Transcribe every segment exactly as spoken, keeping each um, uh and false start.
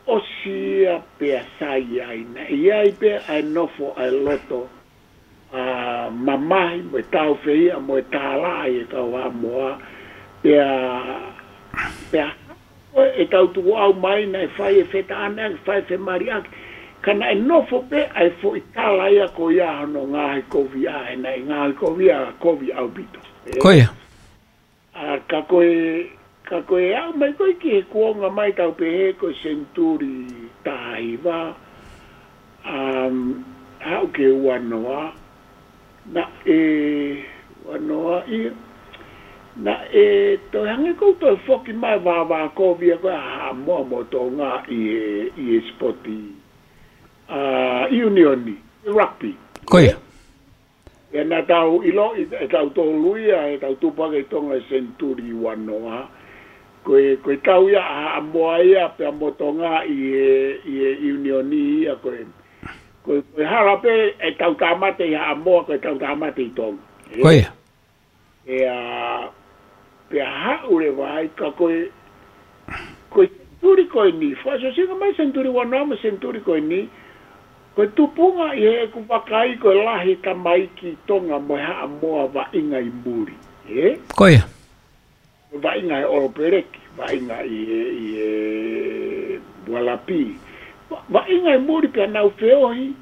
ʻosi ia pea sai ai, naʻe ʻi ai pē ʻa e nofo ʻa e loto ʻa e mamahi mo e tāufehiʻa mo e tālaʻa ʻi he kau Haʻamoa. Pea, pea ko e tau tukuʻau mai naʻe fai e fetaʻaneʻaki, fai e femaliʻaki. Ka naʻe nofo pē ʻa e foʻi tala ia ko ia hono ngaohikoviʻa, he naʻe ngaohikoviʻa kovi ʻaupito. Ē? Ko ia. ʻA, ka ko e, ka ko e aʻu mai ko ē ki he kuonga mai tau pehē ko e senituli taha hiva, um, haʻu ki he ua noa, naʻe, ua noa ia, naʻe toe hangē ʻoku toe foki mai vāvākovi ia ko ē ʻa Haʻamoa mo Tonga ʻi he, ʻi he sipoti, ʻa, ʻiunioni, rugby. Ko ia. Ē? Ia naʻa tau ʻiloʻi, ʻe tautolu ia, ʻe tau tupu hake ʻi Tonga he senituli ua noa. Ko e, ko e tau ia ʻa Haʻamoa ia, pea mo Tonga ʻi he, ʻi he ʻiunioni ia, ko e, ko e, ko e hala pē ʻe tau tāmate ʻi Haʻamoa, ko e tau tāmate ʻi Tonga. Ē? Ko ia. Ē, ʻa, pea haʻu leva ai ka ko e, ko e senituli ko eni, fakaʻosiʻosinga mai senituli ua noa mo e senituli ko eni, ko e tupunga ʻi heʻeku vakai ko e lahi tamaiki Tonga mo e Haʻamoa vaʻinga ʻi muli. Ē? Ko ia. Vaʻinga he All Black, vaʻinga ʻi he, ʻi he Ualapi. Va-, vaʻinga ʻi muli pea nau feohi,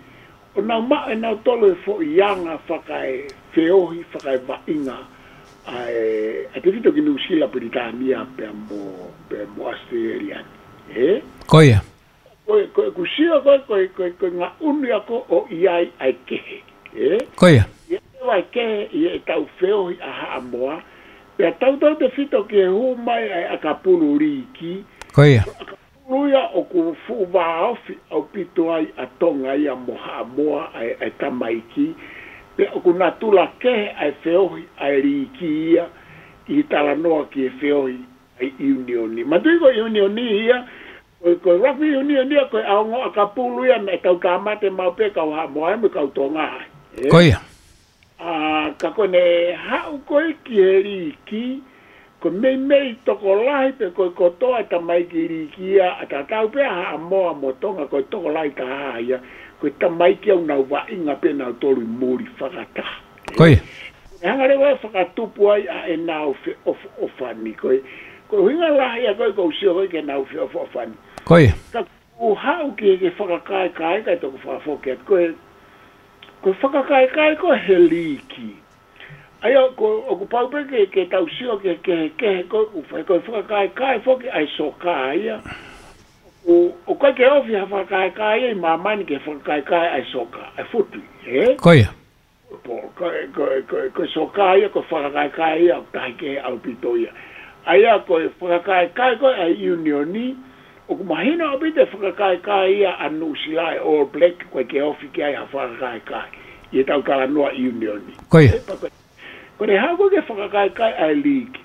ʻo nau maʻu ʻe nautolu e foʻi anga fakaefeohi, fakaevaʻinga, ʻa e, ʻa e tefito ki Nuʻusila, Pilitānia, pea mo, pea mo ʻAositelēlia ni. Ē? Ko ia. Ko e, ko e ʻeku sio ko e, ko e, ko e, ko e ngaʻunu ia ko ē ʻo ʻi ai ʻa e kehe. Ē? Ko ia. ʻI ai ʻa e kehe ʻi heʻetau feohi ʻa Haʻamoa, pea tautau tefito ki he hū mai ʻa e ʻakapulu liiki. Ko ia. Ko e ʻakapulu ia ʻoku fuʻu vāofi ʻaupito ai ʻa Tonga ia mo Haʻamoa ʻa e, ʻa e tamaiki, pea ʻoku natula kehe ʻa e feohi ʻa e liiki ia ʻi he talanoa ki he feohi ʻa e ʻiunioni. Manatuʻi ko e ʻiunioni ia, ko e, ko e rugby union ia, ko e ʻaonga ʻakapulu ia naʻe tau tāmate maʻu pē kau Haʻamoa mo e kau Tonga. Ē? Ko ia. ʻA, ka ko ʻene haʻu ko ē ki he liiki, ko e meimei tokolahi pē ko e kotoa e tamaiki liiki ia, ʻa tatau pē ʻa Haʻamoa mo Tonga, ko e tokolahi taha ia, ko e tamaiki ʻoku nau vaʻinga pē nautolu ʻi muli fakataha. Ko ia. ʻE hanga leva ʻo fakatupu ai ʻa ʻenau feʻofoʻofani. Ko e, ko e ʻuhinga lahi ia ko ē ʻoku ou sio ko ē ki heʻenau feʻofoʻofani. Ko ia. Ka ʻoku haʻu ki he, ki he fakakaekae, kae toki fakafoki atu. Ko e, ko e fakakaekae ko ē he liiki. ʻA ia, ko, ʻoku pau pē ke, ke tau sio ki he, ki he, ki he, ko, ʻoku fai, ko e fakakaekae foki ʻa e soka ia. ʻO, ʻoku ʻikai ke ofi ha fakakaekae ia ʻi māmani ki he fakakaekae ʻa e soka, ʻa e futi, ē? Ko ia. Pea ko e, ko e, ko e, ko e soka ia, ko e fakakaekae ia ʻoku tahi kehe ʻaupito ia. ʻA ia ko e fakakaekae ko ē ʻa e ʻiunioni, ʻoku mahino ʻaupito e fakakaekae ia ʻa Nuʻusila, e All Black, ʻoku ʻikai ke ofi ki ai ha fakakaekae ʻi heʻetau talanoa ʻiunioni. Ko ia. Ē, pea ko e, ko ʻene haʻu ko ē ki he fakakaekae ʻa e liiki,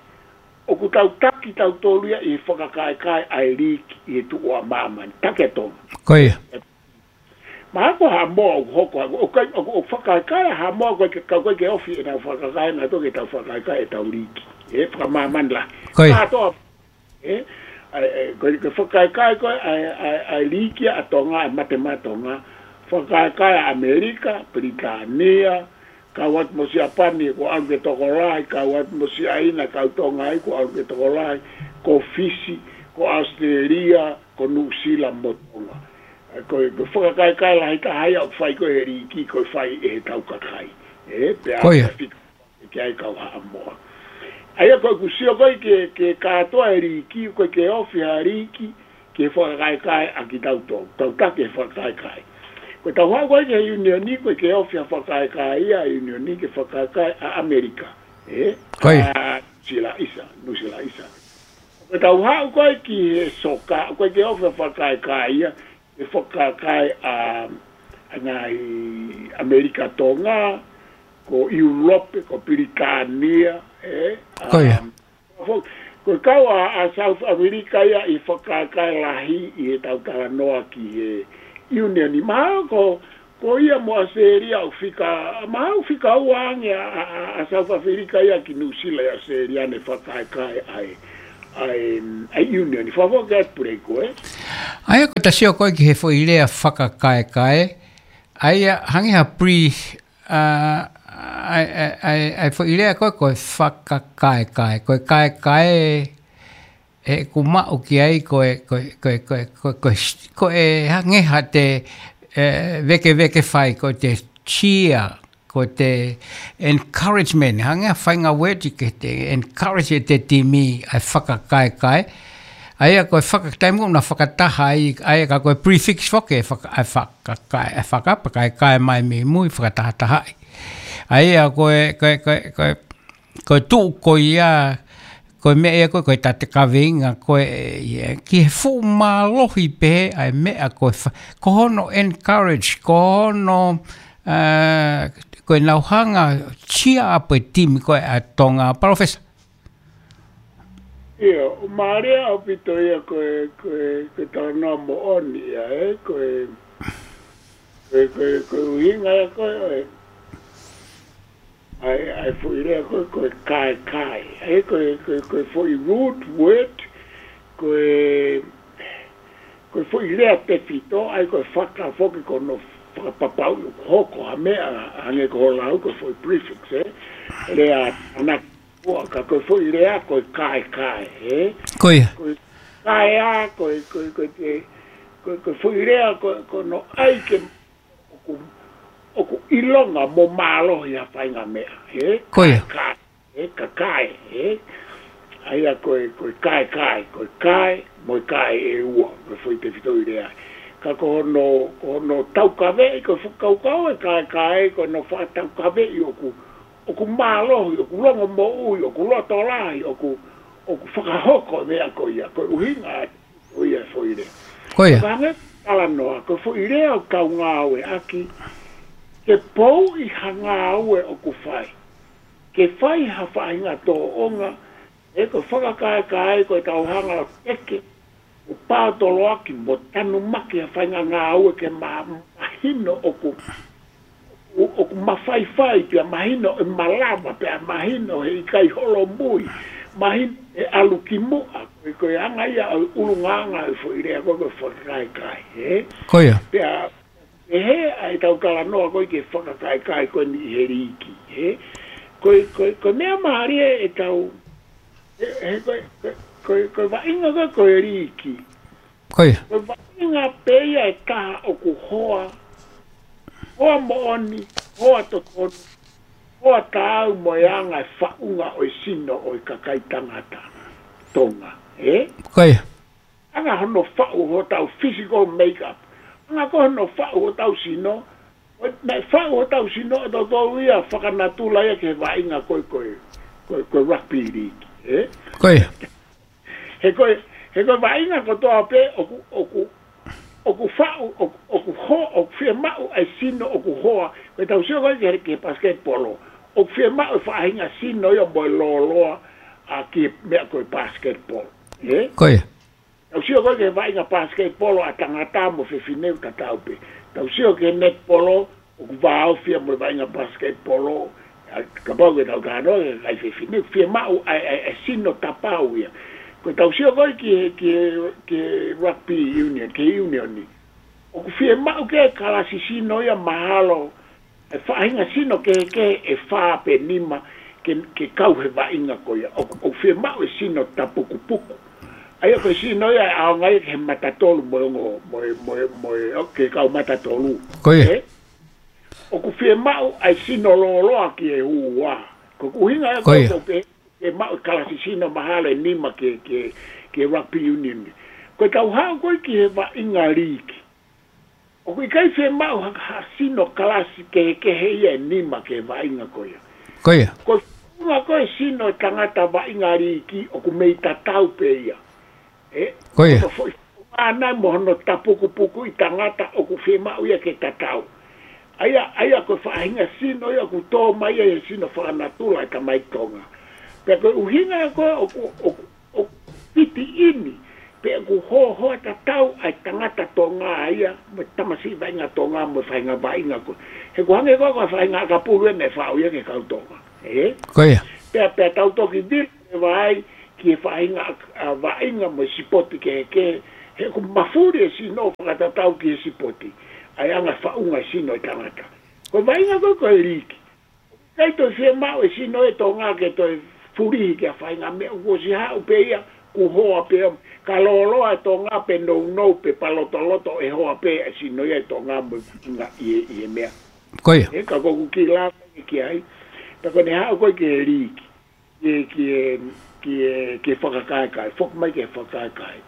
ʻoku tau taki tautolu ia ʻi he fakakaekae ʻa e liiki ʻi he tuʻu ʻa māmani, taki ʻa Tonga. Ko ia. Mahalo ko Haʻamoa ʻoku hoko, ʻoku, ʻoku, ʻoku fakakaekae ʻa Haʻamoa ʻoku ʻikai ke, ʻoku ʻikai ke ofi ʻenau fakakaekae, naʻa tau ke tau fakakaekae ʻetau liiki. Ē, fakamāmani lahi. Ko ia. Kātoa, ē, ʻa e, ʻa e, ko e, ko e fakakaekae ko ē ʻa e, ʻa e, ʻa e liiki ʻa Tonga, ʻa e Mate Maʻa Tonga. Fakakaekae ʻa ʻAmelika, Pilitānia, kau atu mo Siapani, kuo ʻalu ke tokolahi, kau atu mo Siaina, kau Tonga ai, kuo ʻalu ke tokolahi, ko Fisi, ko ʻAositelēlia, ko Nuʻusila mo Tonga. Ē, ko e, ko e fakakaekae lahi taha ia ʻoku fai ko ē he liiki, ʻoku fai ʻe heʻetau kakai. Ē, pea Ko ia. pea fika ki ai kau Haʻamoa. ʻA ia ko ʻeku sio ko ē ki he, ki he kātoa e liiki, ʻoku ʻikai ke ofi ha liiki ki he fakakaekae ʻa kitautolu. Tau taki e fakakaekae. Ko ʻetau haʻu ko ē ki he ʻiunioni, ʻoku ʻikai ke ofi ha fakakaekae ia ʻa e ʻiunioni ki he fakakaekae ʻa ʻAmelika. Ē? Ko ia. ʻA Nuʻusila ʻisa, Nuʻusila ʻisa. Ko ʻetau haʻu ko ē ki he soka, ʻoku ʻikai ke ofi ha fakakaekae ia ki he fakakaekae ʻa, ʻa e ngaahi ʻAmelika Tonga, ko ʻIulope, ko Pilitānia, ē? Ko ia. Um, ko, ko e kau ʻa, ʻa South America ia ʻi he fakakaekae lahi ʻi heʻetau talanoa ki he ʻiunioni. Mahalo ko, ko ia mo ʻAositelēlia ʻoku fika, mahalo ʻoku fika ua ange ʻa, ʻa, ʻa, ʻa South Africa ia ki Nuʻusila ʻi ʻAositelēlia ʻene fakakaekae ʻa e, ʻa e, ʻa e union, ʻi fafo ke atu pule ko e. ʻA ia ko e tasi ʻo koe ki he foʻi lea fakakaekae, ʻa ia hangē ha pre, ʻa, ʻa, ʻa, ʻa, ʻa e foʻi lea ko e, ko e fakakaekae, ko e kaekae, ʻe ku maʻu ki ai ko e, ko e, ko e, ko e, ko e, ko e, ko e hangē ha te, ʻe, vekeveke fai, ko e te cheer, ko e te encouragement, hangē ha faʻahinga word ke te encourage ʻe te timi ʻa e fakakaekae. ʻA ia ko e fakataimi ko na fakataha ai, ʻa ia ka ko e prefix foki ʻe faka-, ʻa e fakakae, ʻa e fakapakaekae mai mei mui fakatahatahaʻi. ʻA ia ko e, ko e, ko e, ko e, ko e tuʻu ko ia, ko e meʻa ia ko e, ko e tatakaveinga ko e, ia, ki he fuʻu mālohi pē ʻa e meʻa ko e fa-, ko hono encourage, ko hono, ʻa, ko e nau hanga cheer up e timi ko e ʻa Tonga, Palōfesa. ʻIo, ʻo mālie ʻaupito ia ko e, ko e, ko e talanoa moʻoni ia, ē, ko e, ko e, ko e, ko e ʻuhinga ia ko e, ʻo e, ʻa e, ʻa e foʻi lea ko e, ko e kaekae. ʻA ia ko e, ko e, ko e foʻi root word, ko e, ko e foʻi lea tefito, ʻa ia ko e faka foki ko hono fakapapauʻi ʻoku hoko ha meʻa, hangē ko hoʻo lau ko e foʻi prefix, ē? Lea ʻana ua ka ko e foʻi lea ko e kaekae, ē? Ko ia. Ko e kaea, ko e, ko e, ko e, ko e, ko e foʻi lea ko, ko hono ʻai ke ʻoku, ʻoku ʻilonga mo mālohi ha faʻahinga meʻa, ē? Ko ia. Kaekae, ē? Kaekae, ē? ʻA ia ko e, ko e kaekae, ko e kae, mo e kae ʻe ua, ko e foʻi tefitoʻi lea. Ka ko hono, ko hono taukaveʻi, ko e fakakaukau e kaekae, ko hono fakataukaveʻi ʻoku, ʻoku mālohi, ʻoku longomoʻui, ʻoku lotolahi, ʻoku, ʻoku fakahoko e meʻa ko ia, ko e ʻuhinga ʻo ia e foʻi lea. Ko ia. Ka hangē talanoa, ko e foʻi lea ʻoku tau ngāueʻaki, ke pouʻi ha ngāue ʻoku fai. Ke fai ha faʻahinga tōʻonga, ē, ko e fakakaekae ko e tau hanga ʻo teke, ʻo paotoloaki, mo tanumaki ha faʻahinga ngāue ke ma-, mahino ʻoku ʻo, ʻoku mafaifai pea mahino ʻe malava pea mahino he ʻikai holomui, mahino ʻe ʻalu ki muʻa, ko e, ko e anga ia ʻo e ʻulungaanga ʻo e foʻi lea ko e, ko e fakakaekae, ē? Ko ia. Pea, ʻe he, ʻa e tau talanoa ko e ke fakakaekae ko eni ʻi he liiki, ē? Ko e, ko e, ko e meʻa mālie ʻe tau, ʻe, he ko e, ko e, ko e, ko e vaʻinga ko e, ko e liiki. Ko ia. Ko e vaʻinga pē ia ʻe taha ʻoku hoa, hoa moʻoni, hoa totonu, hoa taau mo e anga e faʻunga ʻo e sino ʻo e kakai tangata Tonga, ē? Ko ia. Anga hono faʻu hotau physical makeup. Anga ko hono faʻu hotau sino, ʻo e, naʻe faʻu hotau sino ʻe tautolu ia fakanatula ia ki he vaʻinga ko e, ko e, ko e, ko e rugby league, ē? Ko ia. He ko e, he ko e vaʻinga kotoa pē ʻoku, ʻoku, ʻoku faʻu, ʻoku, ʻoku ho-, ʻoku fiemaʻu ʻa e sino ʻoku hoa, ko e tau sio ko e ki he, ki he basketball. ʻOku fiemaʻu e faʻahinga sino ia mo e lōloa, ʻa, ki he meʻa ko e basketball. Ē? Ko ia. Tau sio ko e ki he vaʻinga basketball ʻa tangata mo fefine ʻoku tatau pē. Tau sio ki he netball, ʻoku vāofi ia mo e vaʻinga basketball, ʻa, kapau ke tau talanoa ki he kakai fefine, fiemaʻu ʻa e, ʻa e, ʻa e sino tapau ia. Ko e tau sio ko e ki he, ki he, ki he rugby union, ki he union ni. ʻOku fiemaʻu ke kalasi sino ia mahalo, ʻe faʻahinga sino kehekehe ʻe fā pe nima ke, ke kau he vaʻinga ko ia. ʻOku, ʻoku fiemaʻu e sino tapukupuku. ʻA ia ko e sino ia ʻe ʻaonga ia ki he matatolu mo e ongo, mo e, mo e, mo e, ʻo, ki he kau matatolu. Ko ia. Ē? ʻOku fiemaʻu ʻa e sino lōloa ki he ua. Ko e ʻuhinga ia ko ia. Ko e, ko e, ke maʻu e kalasi sino mahalo ʻe nima ki he, ki he, ki he rugby union. Ko e tau haʻu ko e ki he vaʻinga liiki. ʻOku ʻikai fiemaʻu ha, ha sino kalasi kehekehe ia ʻe nima ki he vaʻinga ko ia. Ko ia. Ko e faʻunga ko e sino ʻo e tangata vaʻinga liiki ʻoku mei tatau pē ia. Ē? Ko ia. Ko e foʻi faʻunga ʻana mo hono tapukupukuʻi tangata ʻoku fiemaʻu ia ke tatau. ʻA ia, ʻa ia ko e faʻahinga sino ia ʻoku tō mai ia he sino fakanatula ʻa e tamai Tonga. Pea ko e ʻuhinga ia ko e ʻoku, ʻoku, ʻoku fiti ini, pe ʻoku hoahoa tatau ʻa e tangata Tonga ia, mo e tamasiʻi vaʻinga Tonga, mo e faʻahinga vaʻinga ko e. He ʻoku hangē ko e, ko e faʻahinga ʻakapulu ʻe ne faʻu ia ki he kau Tonga. Ē? Ko ia. Pea, pea tau toki vili e vai, ki he faʻahinga ʻa, ʻa vaʻinga mo e sipoti kehekehe, he ʻoku mafuli e sino fakatatau ki he sipoti, ʻa e anga faʻunga e sino e tangata. Ko e vaʻinga ko ē ko e liiki. ʻIkai toe fiemaʻu e sino e Tonga ke toe fulihi ki ha faʻahinga meʻa, kuo ʻosi haʻu pē ia, kuo hoa pē ia, ka lōloa e Tonga pe nounou pe palotoloto ʻe hoa pē e sino ia e Tonga mo e vaʻinga ʻi he, ʻi he meʻa. Ko ia. Ē, ka ko ʻeku kiʻi lave ki ai, pea ko ʻene haʻu ko ē ki he liiki, ki he, ki he, ki he, ki he fakakaekae, foki mai ki he fakakaekae.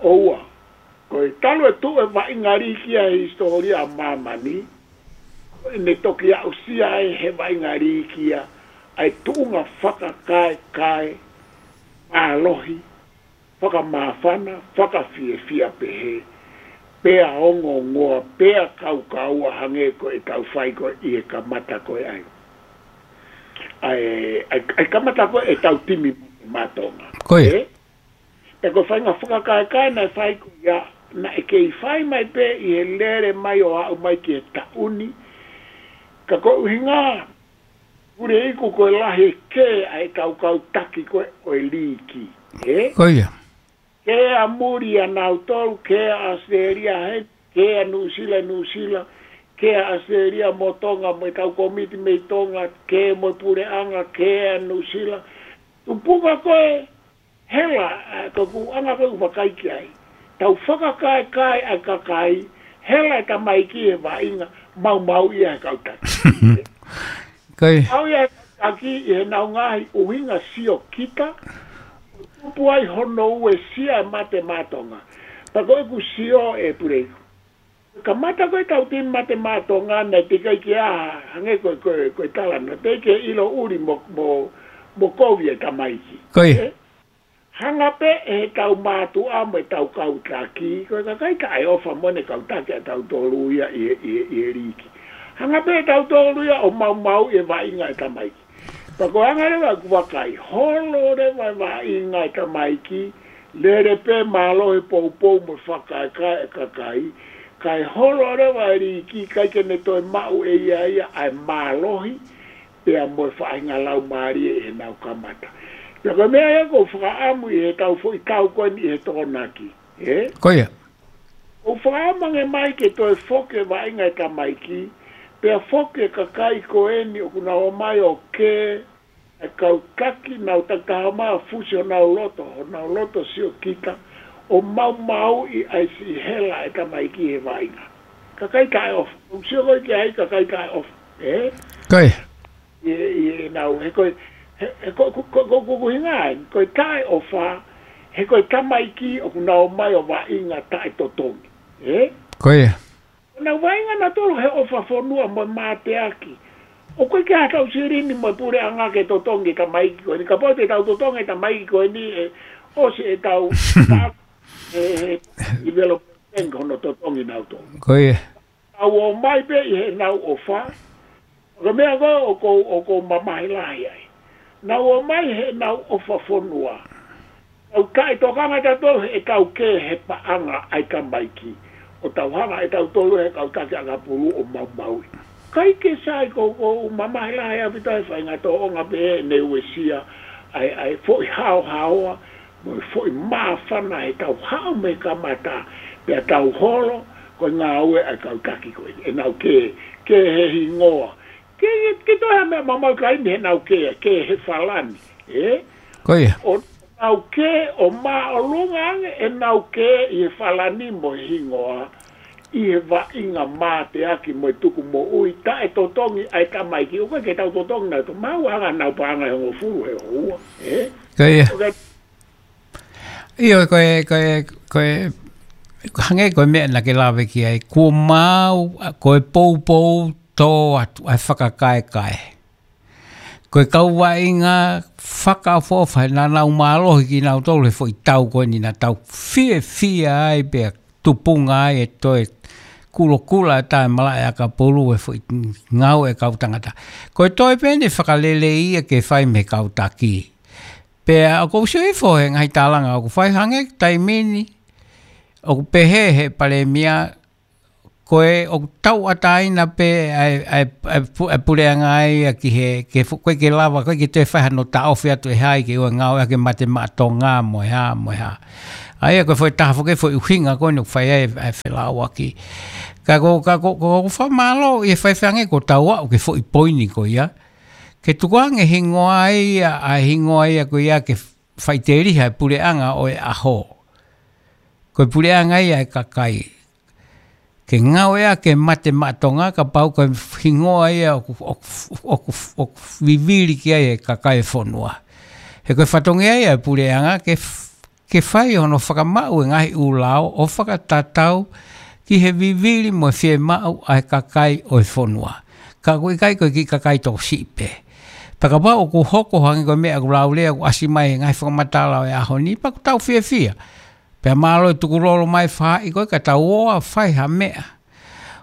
ʻOua, ko e talu e tuʻu e vaʻinga liiki ia he hisitōlia ʻa māmani, ʻene toki aʻusia ai he vaʻinga liiki ia ʻa e tuʻunga fakakaekae, mālohi, fakamāfana, fakafiefia pehē, pea ongoongoa, pea kaukaua hangē ko ʻetau fai ko ē ʻi he kamata ko ē ʻa e, ʻa e, ʻa e, ʻa e kamata ko ē ʻetau timi Mātonga. Ko ia. Ē? Pea ko e faʻahinga fakakaekae naʻe fai ko ia, naʻe kei fai mai pē ʻi he lele mai ʻo aʻu mai ki he taʻu ni. Ka ko e ʻuhinga, Puleiku, ko e lahi e kē ʻa e kau kau taki ko ē ʻo e liiki. Ē? Ko ia. Kē ʻa muli ʻa nautolu, kē ʻa ʻAositelēlia heni, kē ʻa Nuʻusila, Nuʻusila, kē ʻa ʻAositelēlia mo Tonga, mo e kau kōmiti mei Tonga, kē mo e puleʻanga, kē ʻa Nuʻusila. Tupunga ko ē, hela, ʻa, ko ʻeku anga ko ē ʻoku vakai ki ai. Tau fakakaekae ʻa e kakai, hela e tamaiki he vaʻinga, maumauʻi ia he kau taki. Ko ia. Au ia he kau taki ʻi heʻenau ngaahi ʻuhinga siokita, tupu ai hono uesia e mate Mātonga. Pea ko ʻeku sio ē Puleiku, kamata ko ē ʻetau timi mate Mātonga naʻe teʻeki ai ke ʻi ai ha, hangē ko, ko, ko e tala naʻe teʻeki ke ʻilo ʻuli mo, mo, mo kovi e tamaiki. Ko ia. Ē? Hanga pē ʻe he kau mātuʻa mo e kau kau taki, ko e kakai taʻeʻofa mo ʻene kau taki ʻa tautolu ia ʻi he, ʻi he, ʻi he liiki. Hanga pē ʻe tautolu ia ʻo maumauʻi e vaʻinga e tamaiki. Pea ko e anga leva ʻeku vakai, holo leva e vaʻinga e tamaiki, lele pē mālohi e poupou mo e fakakaekae e kakai, kae holo leva e liiki, ʻikai ke ne toe maʻu ʻe ia ia ʻa e mālohi, pea mo e faʻahinga laumālie ʻi heʻenau kamata. Pea ko e meʻa ia ʻoku ou fakaʻamu ʻi heʻetau foʻi tau ko eni ʻi he Tokonaki. Ē? Ko ia. ʻOku ou fakaʻamu ange mai ke toe foki e vaʻinga e tamaiki, pea foki e kakai ko eni ʻoku nau ō mai ʻo kē, e kau taki, nau takitaha mai ʻo fusi honau loto, honau loto siokita, ʻo maumauʻi ʻa e siʻi hela e tamaiki he vaʻinga. Kakai taʻeʻofa. ʻOku ou sio ko ē ki ai kakai taʻeʻofa. Ē? Ko ia. ʻI, ʻi heʻenau, he ko e, he, he ko, ko, ko, ko, ko, ko hinga ai, ko e taʻeʻofa, he ko e tamaiki ʻoku nau ō mai ʻo vaʻinga taʻetotongi. Ē? Ko ia. Nau vaʻinga nautolu he ʻofa fonua mo e mateaki. ʻOku ʻikai ke ʻi ai haʻatau silini mo e puleʻanga ke totongi e tamaiki ko eni. Kapau te tau totongi e tamaiki ko eni ʻe ʻosi ʻetau, ʻe, ʻe, development hono totongi nautolu. Ko ia. Nau ō mai pē ʻi heʻenau ʻofa. Ko e meʻa ko ē ʻoku ou, ʻoku ou mamahi lahi ai. Nau ō mai heʻenau ʻofa fonua. Tau taʻetokanga tautolu heʻetau kē he paʻanga ʻa e tamaiki. ʻO tau hanga ʻe tautolu he kau taki ʻakapulu ʻo maumauʻi. ʻIkai ke sai ko, ʻoku ou mamahi lahi ʻaupito he faʻahinga tōʻonga pē ʻene uesia ʻa e, ʻa e foʻi haohaoa, mo e foʻi māfana heʻetau haʻu mei he kamata, pea tau holo, ko e ngāue ʻa e kau taki ko ē. ʻEnau kē, kē he hingoa. Ke, ke toe ha meʻa maumau kaini heʻenau kē, kē he falani. Ē? Ko ia. ʻO nau kē, ʻo māʻolunga ange ʻenau kē ʻi he falani mo e hingoa, ʻi he vaʻinga mateaki mo e tuku moʻui, taʻetotongi ʻa e tamaiki, ʻoku ʻikai ke tau totongi nautolu, maʻu ʻa e anga ʻenau paʻanga ʻe hongofulu he houa. Ē? Ko ia. ʻOku ʻIo, ko e, ko e, ko e, hangē ko e meʻa naʻa ke lave ki ai, kuo maau, ko e poupou tō atu, ʻa e fakakaekae. Ko e kau vaʻinga fakaʻofoʻofa, naʻa nau mālohi kinautolu he foʻi tau ko eni naʻa tau fiefia ai pea tupunga ai e toe kulokula e taʻemalaʻe ʻakapulu e foʻi ngāue e kau tangata. Ko e toe pē eni e fakalelei ia ke fai mei he kau taki. Pea ʻoku ou sio hifo he ngaahi tālanga ʻoku fai hangē taimi ni, ʻoku pehē he palēmia Ko e ʻoku tauʻatāina pē ʻa e, ʻa e, ʻa e pu-, ʻa e puleʻanga ia ki he, ke fu-, ko e ke lava, ko e ke toe fai hano taʻofi atu ʻe hai ke ʻoua ngāueʻaki e mate maʻa Tonga mo e hā, mo e hā. ʻA ia ko e foʻi taha foki e foʻi ʻuhinga ko eni ʻoku fai ai ʻa e felāuaki. Ka ko, ka ko, ko, ko fakamālō ʻi he faifai ange ko tau aʻu ki he foʻi poini ko ia. Ke tukuange hingoa ia, ʻa e hingoa ia ko ia ke faʻiteliha e puleʻanga ʻo e ʻaho. Ko e puleʻanga ia e kakai. Ke ngāueʻaki e mate maʻa Tonga kapau ko e hingoa ia ʻoku, ʻoku, ʻoku, ʻoku vivili ki ai e kakai e fonua. He ko e fatongia ia e puleʻanga ke f-, ke fai hono fakamaʻu e ngaahi ʻū lao ʻo fakatatau ki he vivili mo e fiemaʻu ʻa e kakai ʻo e fonua. Ka ʻoku ʻikai ko e kiʻi kakai tokosiʻi pē. Pea kapau ʻoku hoko hangē ko e meʻa ʻoku laulea ʻoku ʻasi mai he ngaahi fakamatala ʻo e ʻaho ni, pea ʻoku tau fiefia. Pea mālō e tukulolo mai faʻahi ko e ka tau ō ʻo fai ha meʻa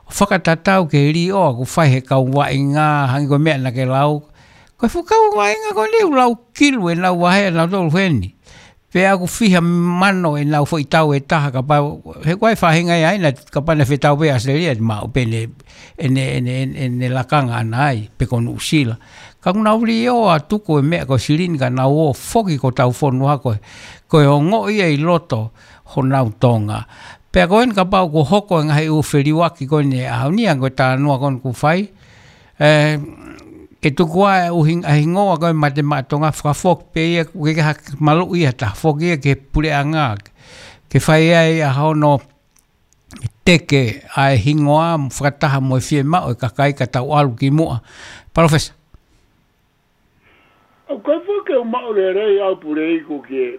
ʻo fakatatau ki he līʻoa ʻoku fai he kau vaʻinga, hangē ko e meʻa naʻa ke lau. Ko e fuʻu kau vaʻinga ko eni ʻoku lau kilu ʻenau vahe ʻanautolu heni. Pea ʻoku fiha mano ʻenau foʻi tau ʻe taha kapau, he ko e faʻahinga ia ʻaina, kapau naʻe fetau pē ʻAositelēlia ʻe maʻu pē ʻene, ʻene, ʻene, ʻene, ʻene lakanga ʻana ai, pe ko Nuʻusila. Ka ʻoku nau līʻoa atu ko e meʻa ko e silini ka nau ō foki ki hotau fonua ko e, ko e ongoʻi ia ʻi loto honau Tonga. Pea ko eni kapau ʻoku hoko e ngaahi ʻū feliuaki ko eni ʻaho ni, ʻa ko e talanoa ko eni ʻoku fai, ē, ke tuku ʻa e ʻuhinga, ʻa e hingoa ko e mate maʻa Tonga fakafoki pē ia, ʻoku ʻikai ke ha maluʻi ia ha taha foki ia ki he puleʻanga. Ke fai ai ʻa hono teke ʻa e hingoa, fakataha mo e fiemaʻu e kakai ka tau ʻalu ki muʻa. Palōfesa. ʻOku ʻikai foki ke u maʻu lelei au Puleiku ki he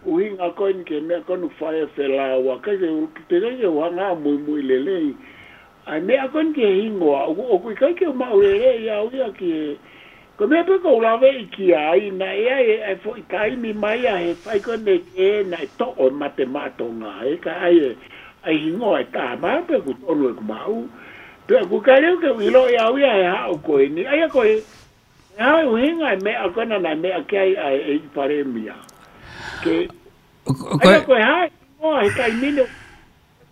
ʻuhinga ko eni ki he meʻa ko eni ʻoku fai e felāuaki, ʻikai ke u, ʻikai ke u hanga ʻo muimui lelei. ʻA e meʻa ko eni ki he hingoa, ʻoku, ʻoku ʻikai ke u maʻu lelei au ia ki he, ko e meʻa pē ʻoku ou laveʻi ki ai, naʻe ʻi ai e, e foʻi taimi mai ia he fai ko eni ke naʻe toʻo e mate maʻa Tonga, ē, ka ʻai e, ʻai hingoa ʻe taha mai pē ʻoku tonu ʻeku maʻu. Pea ʻoku ʻikai leva ke u ʻiloʻi au ia he haʻu ko eni, ʻa ia ko e, ʻE hā e ʻuhinga e meʻa ko ena naʻe meʻa ki ai ʻa e ʻEiki Palēmia. Ke, ʻo, ʻo, ʻa ia ko e hā e hingoa he taimi ni.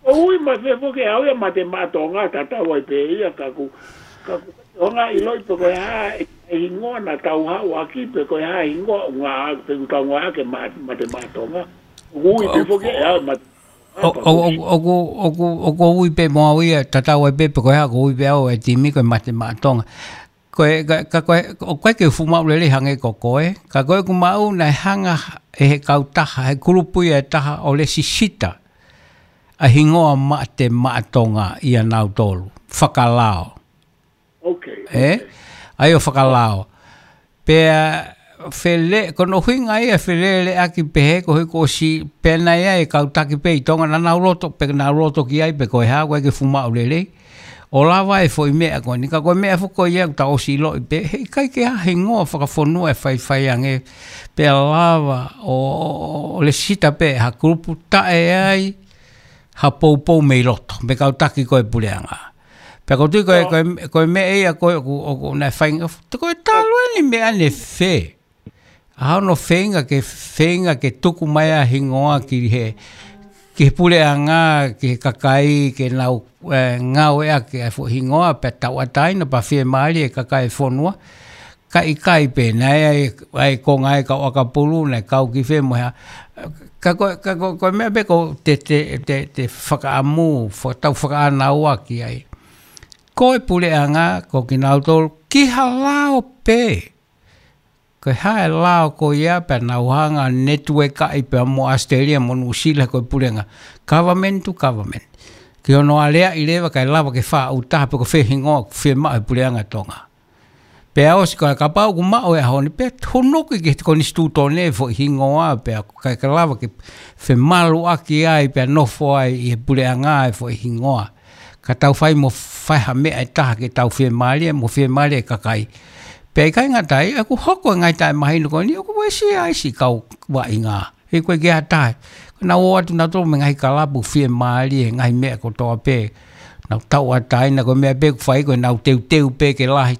ʻOku ui mai fē foki ʻe au ia mate maʻa Tonga tatau ai pē ia ka ʻoku, ka ʻoku ʻikai ke u hanga ʻo ʻiloʻi pe ko e hā e, e hingoa naʻa tau haʻu ʻaki pe ko e hā e hingoa ʻoku ngāueʻaki pe ʻoku tau ngāueʻaki e ma-, mate maʻa Tonga. ʻOku ui pē foki ʻe au mate ʻo, ʻo, ʻo, ʻoku, ʻoku, ʻoku ui pē mo au ia tatau ai pē pe ko e hā ʻoku ui pē au e timi ko e mate maʻa Tonga. Ko e, ka, ka, ko e, ʻoku ʻikai ke u fuʻu maʻu lelei hangē ko koe, ka ko ʻeku maʻu naʻe hanga ʻe he kautaha, he kulupu ia ʻe taha ʻo lesisita ʻa e hingoa mate maʻa Tonga ʻia nautolu, fakalao. Ok, ē? Ok. ʻA ia ʻo fakalao. Pea fele, ko hono ʻuhinga ia feleleʻaki pehē ko e kuo ʻosi pē naʻe ʻi ai e kau taki pē ʻi Tonga naʻa nau loto, pe nau loto ki ai pe ko e hā, ʻoku ʻikai ke fuʻu maʻu lelei. ʻO lava e foʻi meʻa ko eni, ka ko e meʻa foki ko ia ʻoku tau ʻosi ʻiloʻi pē, he ʻikai ke ʻi ai ha hingoa fakafonua ʻe faifai ange, pea lava ʻo, ʻo, ʻo lesisita pē ha kulupu taʻe ʻi ai ha poupou mei loto, mei he kau taki ko e puleʻanga. Pea ʻoku ou tui ko e, ʻio, ko e, ko e meʻa ia ko e, ʻoku, ʻoku, naʻe fai, ko e talu eni meʻa ne fē. ʻA hono feinga ke, feinga ke tuku mai ʻa e hingoa ki he, ki he puleʻanga, ki he kakai, ke nau, ē, ngāueʻaki ʻa e foʻi hingoa, pea tauʻatāina, pea fiemālie e kakai e fonua. Ka ʻikai pē, naʻe ʻi ai, ʻa e konga ʻa e kau ʻakapulu, naʻe kau ki fē mo e hā. Ka ko, ka ko, ko e meʻa pē ʻoku te, te, te, te fakaʻamu, faka-, tau fakaʻānaua ki ai. Ko e puleʻanga, ko kinautolu, ki ha lao pē. Ko e hā e lao ko ia pea nau hanga ʻo netiuekaʻi pea mo ʻAositelēlia mo Nuʻusila ko e puleʻanga. Government to government. Ki hono aleaʻi leva kae lava ke faʻu taha pe ko fē hingoa ʻoku fiemaʻu he puleʻanga Tonga. Pea ʻosi ko e kapau ʻoku maʻu e ʻaho ni pea hunuki ki he konisitūtone e foʻi hingoa pea ʻoku ʻikai ke lava ke femaluʻaki ai pea nofo ai ʻi he puleʻanga e foʻi hingoa. Ka tau fai mo fai ha meʻa ʻe taha ke tau fiemālie, mo fiemālie e kakai. Pea ʻikai ngata ai, ʻoku hoko e ngaahi taʻemahino ko eni, ʻoku uesia ai siʻi kau vaʻinga. He ʻoku ʻikai ke ʻi ai ha taha. Ko ʻenau ō atu nautolu mei he ngaahi kalapu fiemālie, ngaahi meʻa kotoa pē. Nau tauʻatāina ko e meʻa pē ʻoku fai ko ʻenau teuteu pē ke lahi.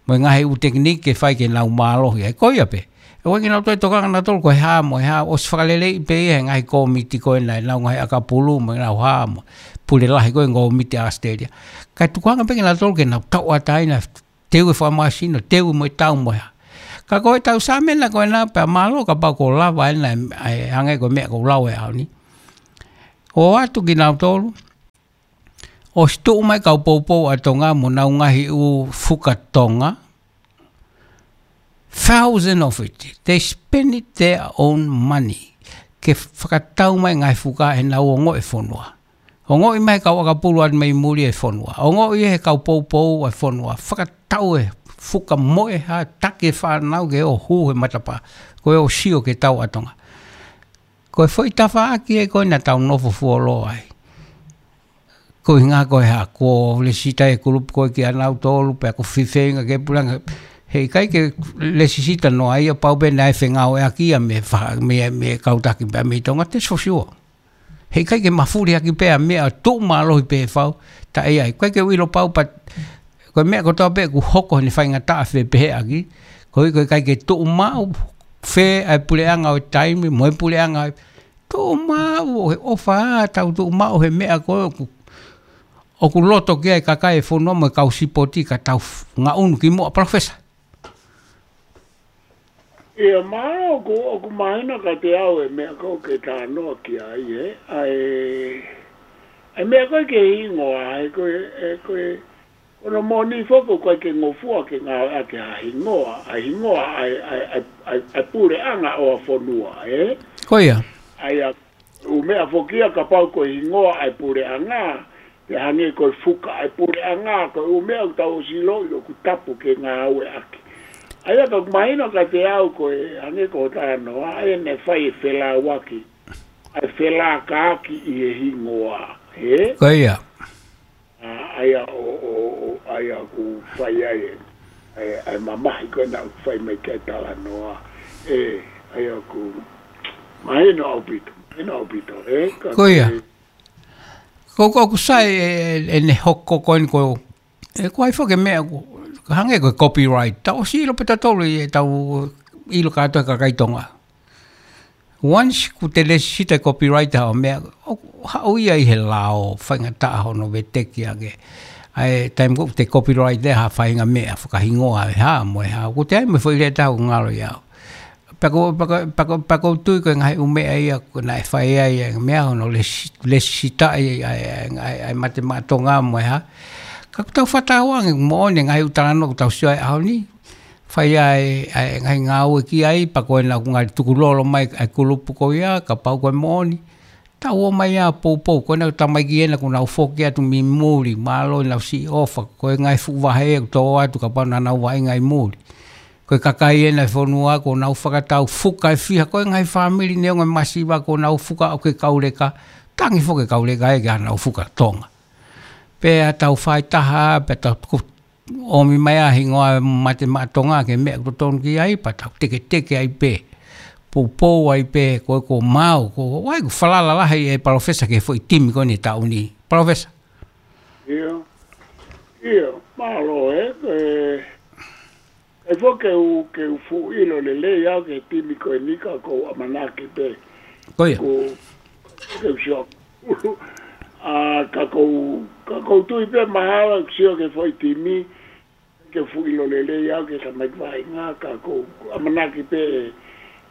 Mo e ngaahi ʻū tekiniki ke fai ke nau mālohi ai. Ko ia pē. ʻOku ʻikai ke nau toe tokanga nautolu ko e hā mo e hā, ʻosi fakaleleiʻi pē ia he ngaahi kōmiti ko ena ʻenau ngaahi ʻakapulu mo ʻenau hā mo e pule lahi ko e kōmiti ʻAositelēlia. Kae tukuange pē kinautolu ke nau tauʻatāina, teu e fakamāsino, teu mo e tau mo e hā. Ka ko e tau sāmena ko ena pea mālō kapau ʻoku lava ena ʻe, ʻe hangē ko e meʻa ʻoku lau ʻe au ni. ʻOatu kinautolu, ʻosi tuʻu mai kau poupou ʻa Tonga mo ʻenau ngaahi ʻū fuka Tonga, thousand of it. They spend it their own money. Ke fakatau mai ngaahi fuka ʻenau ongoʻi e fonua. Ongoʻi mai kau ʻakapulu atu mai muli e fonua. Ongoʻi he kau poupou e fonua. Fakatau e fuka mo e hā, taki e fānau ke ō hū he matapā. Ko e ʻo sio ki he tau ʻa Tonga. Ko e foʻi tafaʻaki ē ko ena tau nofo fuoloa ai. Ko e ʻuhinga ko e hā, ko e lēsisita e kulupu ko ē kia nautolu, pea ʻoku fifeinga ke puleʻanga. Heʻikai ke lēsisita noa ia pau pē naʻe fengāueʻaki ia mei fa-, mei, mei he kau taki pea mei Tonga te sosio. Heʻikai ke mafuli ʻaki pē ʻa e meʻa tuʻu mālohi pē fau, taʻe ʻi ai. ʻOku ʻikai ke u ʻilo pau pea, ko e meʻa kotoa pē ʻoku hoko he faingataʻa fepehēʻaki, ko e, ko e ʻikai ke tuʻu maʻu fē ʻa e puleʻanga ʻo e taimi, mo e puleʻanga ʻo e tuʻu maʻu ʻo he ʻofa, tau tuʻu maʻu he meʻa ko ē ʻoku, ʻoku loto ki ai e kakai e fonua mo e kau sipoti ka tau f-, ngaʻunu ki muʻa, Palōfesa. ʻIo, mālō, ʻoku, ʻoku mahino kiate au e meʻa ko ē ke talanoa ki ai, ē. ʻA e, ʻa e meʻa ko ē ki he hingoa, ʻa e ko e, ʻa e ko e, ko hono moʻoni foki ʻoku ʻikai ke ngofua ke ngāueʻaki ha hingoa, ʻa e hingoa, ʻa e, ʻa e, ʻa e, ʻa e, ʻa e puleʻanga ʻo e fonua, ē? Ko ia. ʻA ia, ʻū meʻa foki ia kapau ko e hingoa ʻa e puleʻanga, pea hangē ko e fuka ʻa e puleʻanga, ko e ʻū meʻa ʻoku tau ʻosi ʻiloʻi ʻoku tapu ke ngāueʻaki. ʻA ia ka ʻoku mahino kiate au ko e hangē ko e talanoa, ʻa ia naʻe fai e felāuaki, ʻa e felākaaki ʻi he hingoa, ē? Ko ia. ʻA, ʻa ia ʻo, ʻo, ʻo, ʻa ia ʻoku fai ai e, e, e mamahi ko ena ʻoku fai mai ki ai e talanoa. Ē, ʻa ia ʻoku mahino ʻaupito, mahino ʻaupito, ē, ka ko ia. Ko, ko, ʻoku sai e, e, ʻene hoko ko eni ko, ē, ko e hā foki e meʻa ʻoku, hangē ko e copyright. Tau ʻosi ʻilo pē tautolu ʻi heʻetau ʻilo kātoa e kakai Tonga. Once ʻoku te lēsisita e copyright ʻa e meʻa, ʻoku haʻu ia ʻi he lao, faingataʻa hono veteki ange. ʻA e taimi ko ē ʻoku te copyright ʻe ha faʻahinga meʻa, fakahingoa e hā, mo e hā. ʻOku te ʻai mo e foʻi lea ʻe taha ʻoku ngalo ia. Pea ʻoku, pea ʻoku, pea ʻoku, pea ʻoku ou tui ko e ngaahi ʻū meʻa ia, ko ē naʻe fai ai e meʻa hono lēsi-, lēsisitaʻi ʻa e, ʻa e, ʻa e, ʻa e Mate Maʻa Tonga mo e hā. Ka ʻoku tau fakatauange moʻoni e ngaahi ʻū talanoa ʻoku tau sio ai he ʻaho ni. Fai ai, ʻa e ngaahi ngāue ki ai, pea ko ena ʻoku ngali tukulolo mai ʻa e kulupu ko ia, kapau ko e moʻoni. Tau ō mai ʻo poupou, ko ena tamaiki ena ʻoku nau foki atu mei muli, mālō ʻenau siʻi ʻofa, ko e ngaahi fuʻu vahe ʻoku tō atu kapau naʻa nau vaʻinga ʻi muli. Ko e kakai ena e fonua ʻoku nau fakatau fuka e fiha, ko e ngaahi fāmili neongo e masiva ʻoku nau fuka ʻoku ke kauleka, tangi foki e kauleka ē ke ʻa nau fuka Tonga. Pea tau fai taha, pea tau tuku ʻomi mai ʻa e hingoa Mate Maʻa Tonga ki he meʻa ʻoku totonu ki ai, pea tau teketeke ai pē. Poupou ai pē, ko e ko mau, ko e ʻoku falala lahi e Palōfesa ki he foʻi timi ko eni taʻu ni. Palōfesa. ʻIo, ʻio, mālō ē, ē, ʻe foki ke u, ke u fuʻu ʻilo lelei au ki he timi ko eni ka ʻoku ou ʻamanaki pē. Ko ia. Ko, ke u sio ʻulu. ʻA, ka ʻoku ou, ka ʻoku ou tui pē mahalo ke sio ki he foʻi timi, ke fuʻu ʻilo lelei au ki he tamaiki vaʻinga, ka ʻoku ou ʻamanaki pē ē,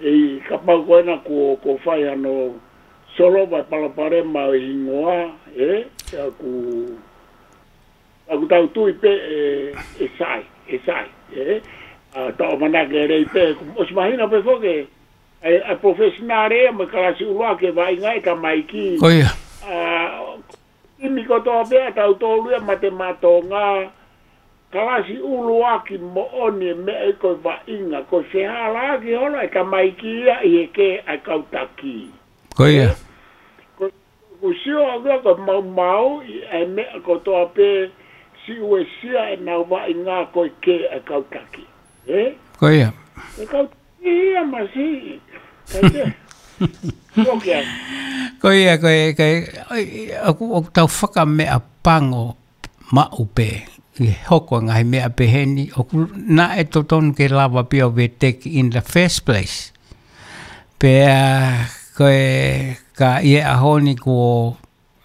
ʻe, kapau ko ena kuo, kuo fai hano solova e palopalema ʻo e hingoa, ē, ka ʻoku, ka ʻoku tau tui pē ē, ʻe sai, ʻe sai, ē, ʻa, tau ʻamanaki lelei pē, ʻoku ʻosi mahino pē foki, ʻa e, ʻa e professional ē, mo e kalasi ʻuluaki e vaʻinga e tamaiki. Ko ia. ʻA, timi kotoa pē ʻa tautolu ia Mate Maʻa Tonga, kalasi ʻuluaki moʻoni e meʻa ē ko e vaʻinga, ko e fehālaaki holo e tamaiki ia ʻi he kē ʻa e kau taki. Ko ia. Ko, ʻoku sio au ia ko e maumauʻi e meʻa kotoa pē, siʻi uesia ʻenau vaʻinga ko e kē ʻa e kau taki. Ē? Ko ia. E kau ia masiʻi. Kai ke. Ko ia. Ko ia, ko e, ko e, ʻoku, ʻoku tau fakameʻapango maʻu pē. ʻi he hoko e ngaahi meʻa peheni, ʻoku naʻe totonu ke lava pē ʻo veteki in the first place. Pea ko e ka ʻi he ʻaho ni kuo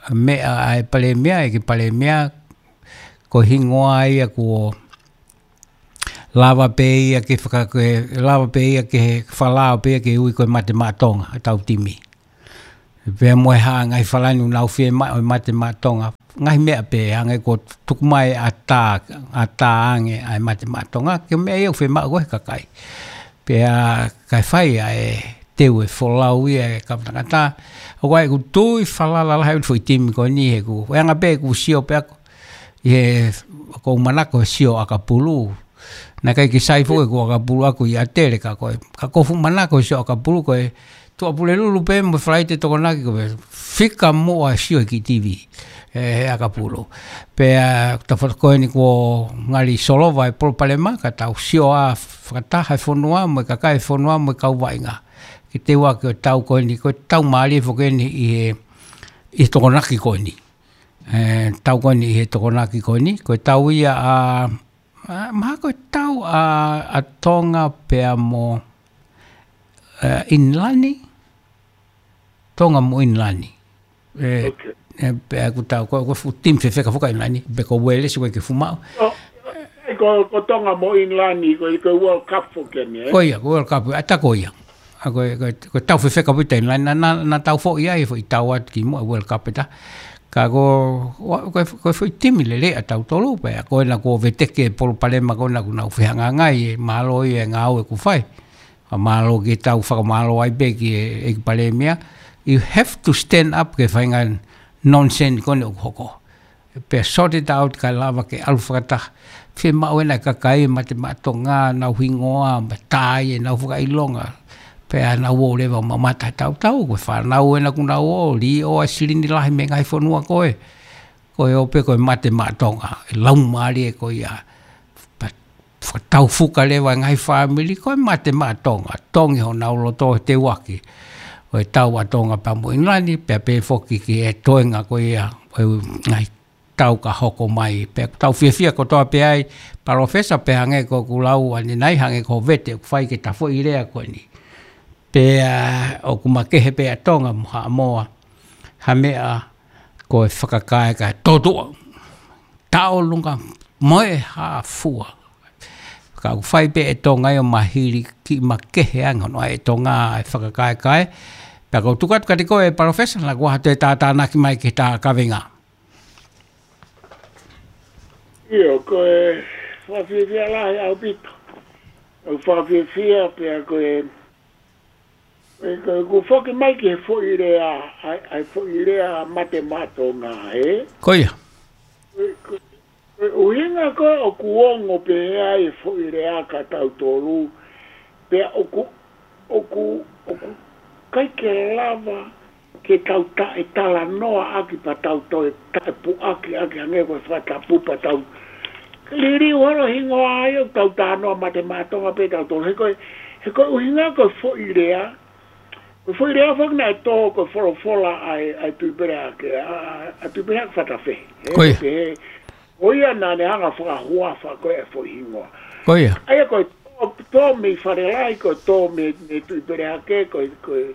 meʻa ʻa e palēmia, ʻEiki Palēmia, ko e hingoa ia kuo lava pē ia ke faka-, ke lava pē ia ke fakalao pē ia ke ui ko e Mate Maʻa Tonga, ʻetau timi. Pea mo e hā ngaahi falani ʻoku nau fiemaʻu e Mate Maʻa Tonga. Ngaahi meʻa pē, hangē ko e tuku mai ʻa tā, ʻa tā ange ʻa e Mate Maʻa Tonga, ke meʻa ia ʻoku fiemaʻu ko e kakai. Pea kae fai ʻa e teu e folau ia e kau tangata. ʻOku ʻi ai ʻeku tui falala lahi ʻoku foʻi timi ko eni he ʻoku, ʻe anga pē ʻeku sio pē ʻaku, ʻi he ʻoku ou manako he sio ʻakapulu. Naʻe ʻikai ke sai foki ʻeku ʻakapulu ʻaku ʻi ʻAtele ka ko e, ka ʻoku ou fuʻu manako he sio ʻakapulu ko e Tuʻapulelulu pē mo e Falaite Tokonaki ko e fika muʻa sio ki he T V. ʻE, he ʻakapulu. Pea, ʻa, tafoto ko eni kuo ngali solova e palopalema ka tau sio ʻa fakataha e fonua mo e kakai e fonua mo e kau vaʻinga. Ke teu ʻaki ʻo tau ko eni, ko e tau mālie foki eni ʻi he, ʻi he Tokonaki ko eni. ʻE, tau ko eni ʻi he Tokonaki ko eni, ko e tau ia ʻa, ʻa, mahalo ko e tau ʻa, ʻa Tonga pea mo, ʻe, ʻInilani, Tonga mo ʻInilani. ʻE, ʻe, pea ʻoku tau, ko, ko e fuʻu timi fefeka foki ʻa ʻInilani, pe ko Uēlesi ko e ke fumaʻu. ʻO, ʻe, ko, ko Tonga mo ʻInilani, ko, ko e World Cup foki eni, ʻe? Ko ia, ko e World Cup, ʻa tā ko ia. ʻA ko e, ko e, ko e tau fefeka pē ʻa ʻInilani, naʻa, naʻa, naʻa tau foʻi ai, foʻi tau atu ki muʻa World Cup ʻe tā. Ka ko, ʻa, ko e, ko e foʻi timi lelei ʻa tautolu pē, ʻa ko ena kuo veteki e palopalema ko ena ʻoku nau fehangahangai, ʻe mālō ia e ngāue ʻoku fai. Ka mālō ke tau fakamālō ai pē ki he, ʻEiki Palēmia. You have to stand up ki he faʻahinga nonsense ko eni ʻoku hoko. Pea sort it out kae lava ke ʻalu fakataha. Fiemaʻu ena e kakai Mate Maʻa Tonga, nau hingoa, mo tā ʻenau fakaʻilonga. Pea nau ō leva ʻo mamata he tautau, ko e fānau ena ʻoku nau ō, liʻo ʻa e silini lahi mei he ngaahi fonua ko ē. Ko e ō pē ko e Mate Maʻa Tonga, ʻe laumālie ko ia. Pea fakataufuka leva e ngaahi fāmili, ko e Mate Maʻa Tonga, tongi honau loto he teu ʻaki ʻo e tau ʻa Tonga pea mo ʻInilani, pea pehē foki ki he toenga ko ia ʻo e ngaahi tau ka hoko mai. Pea ʻoku tau fiefia kotoa pē ai, Palōfesa, pea hangē ko ʻeku lau ʻanenai, hangē ko e vete ʻoku fai ki he tafoʻi lea ko eni. Pea ʻoku makehe pē ʻa Tonga mo Haʻamoa ha meʻa ko e fakakae ka totuʻa. Taʻolunga mo e hā fua. Ka ʻoku fai pē ʻe Tonga ia ʻo mahili kiʻi makehe ange hono ʻai ʻe Tonga e fakakaekae. Pea ʻoku ou tuku atu kiate koe Palōfesa, naʻa kuo ʻoatu e tātānaki mai ki he tā kaveinga. ʻIo, ko e fakafiefia lahi ʻaupito. ʻOku fakafiefia pea ko e, e, ko e, ʻoku foki mai ki he foʻi lea, ʻa e, ʻa e foʻi lea Mate Maʻa Tonga, ē? Ko ia. Ko e, ko e, ko e ʻuhinga ko ē ʻoku ongo pehē ai e foʻi lea kia tautolu, pea ʻoku, ʻoku, ʻoku ʻikai ke lava ke tau taʻetalanoa ʻaki pea tau toe taʻepuʻaki ʻaki hangē ko e fakatapu pea tau liliu holo hingoa ai ʻo tau talanoa Mate Maʻa Tonga pē tautolu. He ko e, he ko e ʻuhinga ko e foʻi lea, ko e foʻi lea foki naʻe tō ko e folofola ʻa e, ʻa e Tuʻi Peleake, ʻa, ʻa, ʻa Tuʻi Peleake Fatafehi. He Ko ia. Pehē, ko ia naʻa ne hanga fakahuafa ko e foʻi hingoa. Ko ia. ʻA ia ko e tō, tō mei Falelahi, ko e tō mei, mei Tuʻi Peleake, ko e, ko e,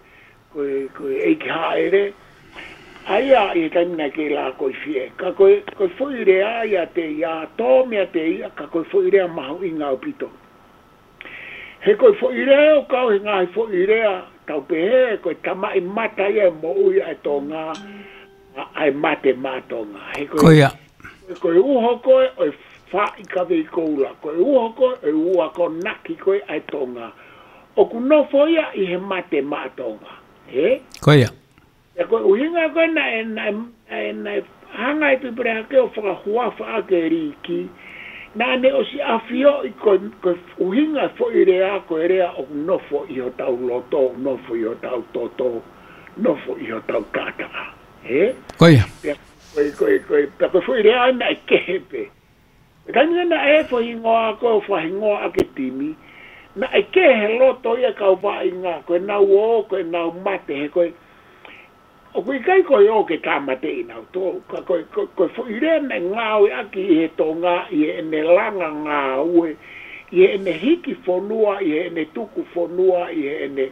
ko e, ko e ʻEiki Haʻele. ʻA ia ʻi he taimi naʻe kei lākoifie. Ka ko e, ko e foʻi lea ia te ia, tō mei te ia, ka ko e foʻi lea mahuʻinga ʻaupito. He ko e foʻi lea ʻoku kau he ngaahi foʻi lea, tau pehē, ko e tamaʻimata ia e moʻui ʻa e Tonga, ʻa, ʻa e Mate Maʻa Tonga. He ko e Ko ia. Ko e uho ko ē ʻo e faʻi kavei koula, ko e uho ko ē ʻo e ua ko naki ko ē ʻa e Tonga. ʻOku nofo ia ʻi he Mate Maʻa Tonga. Ē? Ko ia. Ia ko e ʻuhinga ko ē naʻe, naʻe, naʻe, naʻe hanga e Tuʻi Peleake ʻo fakahuafa ʻaki e liiki. Naʻa ne ʻosi ʻafioʻi ko e, ko e ʻuhinga foʻi lea ko e lea ʻoku nofo ʻi hotau loto, nofo ʻi hotau toto, nofo ʻi hotau taʻataʻa. Ē? Ko ia. Pea Ko e, ko e, ko e, pea ko e foʻi lea naʻe kehe pē. Ko e taimi naʻe foʻi hingoa ko e fakahingoa ʻaki e timi, naʻe kehe loto ia kau vaʻinga, ko ʻenau ō, ko ʻenau mate, he ko e, ʻOku ʻikai ko e ō ke tāmateʻi nautolu, ka ko e, ko, ko e foʻi lea naʻe ngāueʻaki ʻi he Tonga, ʻi heʻene langa ngāue, ʻi heʻene hiki fonua, ʻi heʻene tuku fonua, ʻi heʻene,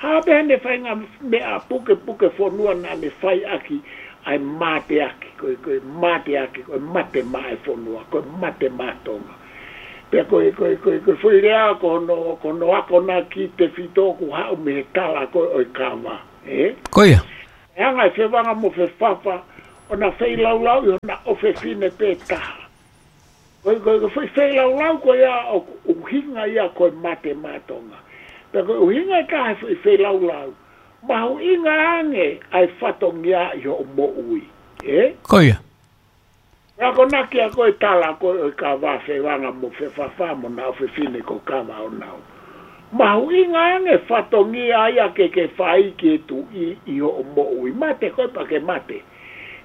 hā pē haʻane faʻahinga meʻa pukepuke fonua naʻa ne fai ʻaki ʻa e mateaki, ko e, ko e mateaki, ko e mate maʻa e fonua, ko e mate maʻa Tonga. Pea ko e, ko e, ko e, ko e foʻi lea ko hono, ko hono akonaki tefito ʻoku haʻu mei he tala ko ē ʻo e kava, ē? Ko ia. ʻE hanga ʻe Fevanga mo Fefafa ʻo na feilaulauʻi hona ʻofefine pē taha. Ko e, ko e, ko e foʻi feilaulau ko ia ʻoku ʻuhinga ia ko e mate maʻa Tonga. Pea ko e ʻuhinga ʻe taha e foʻi feilaulau, mahuʻinga ange ʻa e fatongia ʻi hoʻo moʻui. Ē? Ko ia. Pea ko e akonaki ko ē ʻo e tala ko ē ʻo e kava ʻa Fevanga mo Fefafa mo hona ʻofefine ko Kavaʻonau. Mahuʻinga ange fatongia ia ke ke fai ki he Tuʻi ʻi hoʻo moʻui. Mate koe pea ke mate.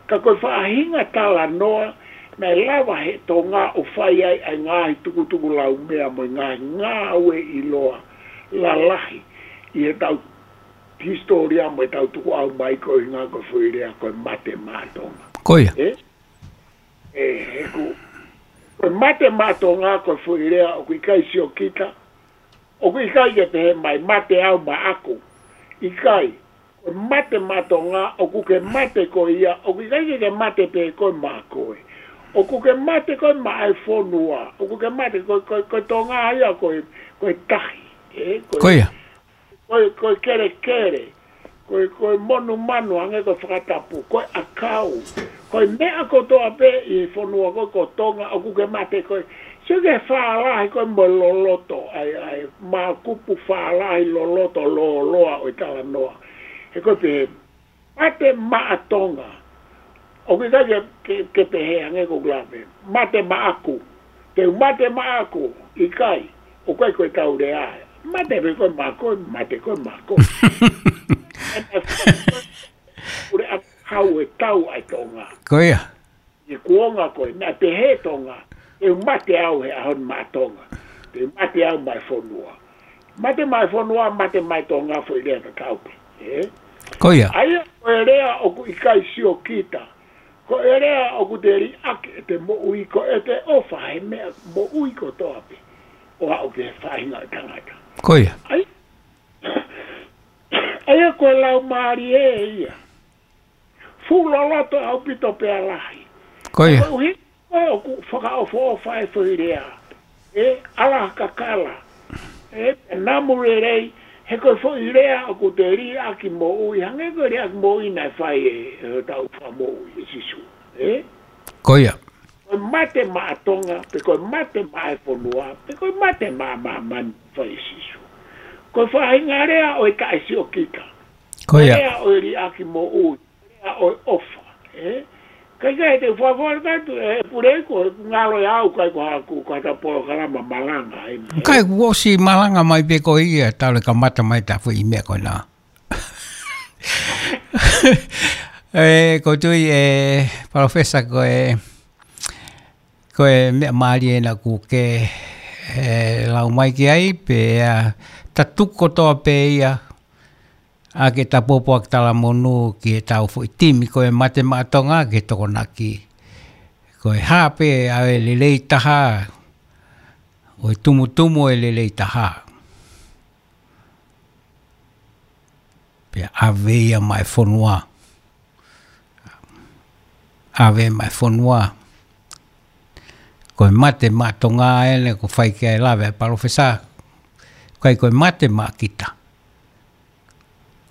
Ka ko e faʻahinga talanoa naʻe lava he Tonga ʻo fai ai ʻa e ngaahi tukutukulaumea mo e ngaahi ngāue ʻiloa lalahi ʻi heʻetau hisitōlia mo ʻetau tukuʻau mai, ko e ʻuhinga ko e foʻi lea ko e mate maʻa Tonga. Ko ia. Ē? Ē, he ko, ko e mate maʻa Tonga ko e foʻi lea ʻoku ʻikai siokita, ʻoku ʻikai ke pehē mai mate au maʻaku. ʻIkai, ko e mate maʻa Tonga, ʻoku ke mate koe ia, ʻoku ʻikai ke ke mate pē koe maʻa koe. ʻOku ke mate koe maʻa e fonua, ʻoku ke mate ko, ko, ko Tonga ia ko e, ko e tahi. Ē, ko e, Ko ia. ko e, ko e kelekele, ko e, ko e monumanu hangē ko e fakatapu, ko e ʻakau, ko e meʻa kotoa pē ʻi he fonua ko, ko Tonga, ʻoku ke mate koe. Sio ki he fālahi ko ē mo e loloto, ʻa e, ʻa e mākupu fālahi loloto lōloa ʻo e talanoa. He ko e pehē, mate maʻa Tonga. ʻOku ʻikai ke, ke, ke pehē hangē ko e lave, mate maʻaku. Te u mate maʻaku, ʻikai, ʻoku ʻikai ko ʻetau lea ē. Mate pē koe maʻaku, mate koe maʻaku. ʻUle a hau e tau ʻa e Tonga. Ko ia. ʻI he kuonga ko ē, naʻe pehē Tonga, te u mate au he ʻaho ni maʻa Tonga. Te u mate au maʻa e fonua. Mate maʻa e fonua, mate maʻa e Tonga, foʻi lea tatau pē. Ē? Ko ia. ʻA ia ko e lea ʻoku ʻikai siokita. Ko e lea ʻoku te liʻaki ʻete moʻui, ko ʻete ʻofa he meʻa moʻui kotoa pē. ʻO aʻu ki he faʻahinga ʻo e tangata. Ko ia. ʻA ia, ʻa ia ko e laumālie ia. Fuʻu loloto ʻaupito pea lahi. Ko ia. Ko e ʻuhinga ʻoku fakaʻofoʻofa e foʻi lea. Ē, ʻalu ha kakala. Ē, namu lelei, he ko e foʻi lea ʻoku te liʻaki moʻui, hangē ko e liʻaki moʻui naʻe fai ʻe, ʻe hotau Fakamoʻui ʻe Sīsū. Ē? Ko ia. Ko e mate maʻa Tonga, pe ko e mate maʻa e fonua, pe ko e mate maʻa māmani fai ʻe Sīsū. Ko e faʻahinga lea ʻo e taʻesiokita. Ko ia. Lea ʻo e liʻaki moʻui. Ia ʻo e ʻofa, ē? Kae kehe te u fakafoki atu, ē, pule ko e ngalo ia au, ʻikai ko haʻaku, ko haʻata polokalama malanga, ē? ʻIkai, kuo ʻosi malanga mai pē ko ia, talu e kamata mai ʻeta foʻi meʻa ko ena. Ē, ko e tui, ē, Palōfesa, ko e, ko e meʻa mālie ena kuo ke, ē, lau mai ki ai, pea, ā, ta tuku kotoa pē ia, ʻa ke ta pōpoaki talamonū ki heʻetau foʻi timi ko e Mate Maʻa Tonga ki he Tokonaki. Ko e hā pē ʻa e lelei taha, ʻo e tumutumu ʻo e lelei taha. Pea ʻave ia maʻa e fonua. ʻAve maʻa e fonua. Ko e Mate Maʻa Tonga eni ʻoku fai ki ai e lave ʻa e Palōfesa. ʻIkai ko e mate maʻa kita.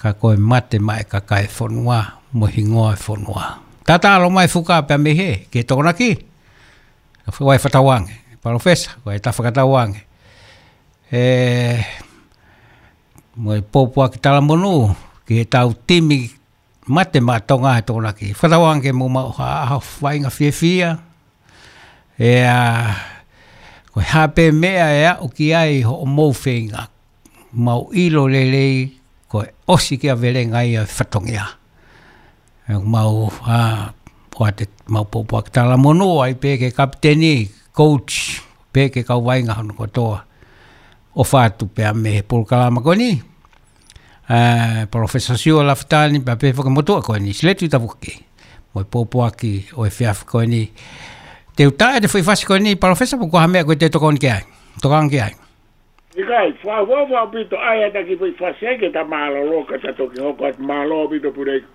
Ka ko e mate maʻa e kakai e fonua, mo e hingoa e fonua. Tatalo mai Fuka pea mei hē, ki he Tokonaki. Ka fai fakatauange, Palōfesa, ko e ta fakatauange. Ē, mo e pōpoaki talamonū, ki heʻetau timi Mate Maʻa Tonga he Tokonaki. Fakatauange ke mou maʻu ha ʻaho faʻahinga fiefia. ʻIo, ko e hā pē meʻa ʻe aʻu ki ai hoʻomou feinga. Mau ʻilo lelei, ko e ʻosi kia Velenga ia e fatongia. ʻE mau, ā, ʻoatu ʻemau pōpoaki talamonū ai pē ki he kapiteni, coach, pea ki he kau vaʻinga hono kotoa. ʻOfa atu pea mei he polokalama ko eni. ʻa Palōfesa Siosiua Lafitani, pea pehē foki ki he motuʻa ko eni, Siletu Tapuaki, mo e pōpoaki ʻo e efiafi ko eni. Te u tā ʻete foʻi fasi ko eni, Palōfesa, pe ko e hā e meʻa ko ē te tokoni ki ai? Tokanga ki ai? ʻIkai, fakaʻofoʻofa ʻaupito ʻa e ʻata ki he foʻi fasi ai ke ta mālōlō, ka ta toki hoko atu. Mālō ʻaupito Puleiku.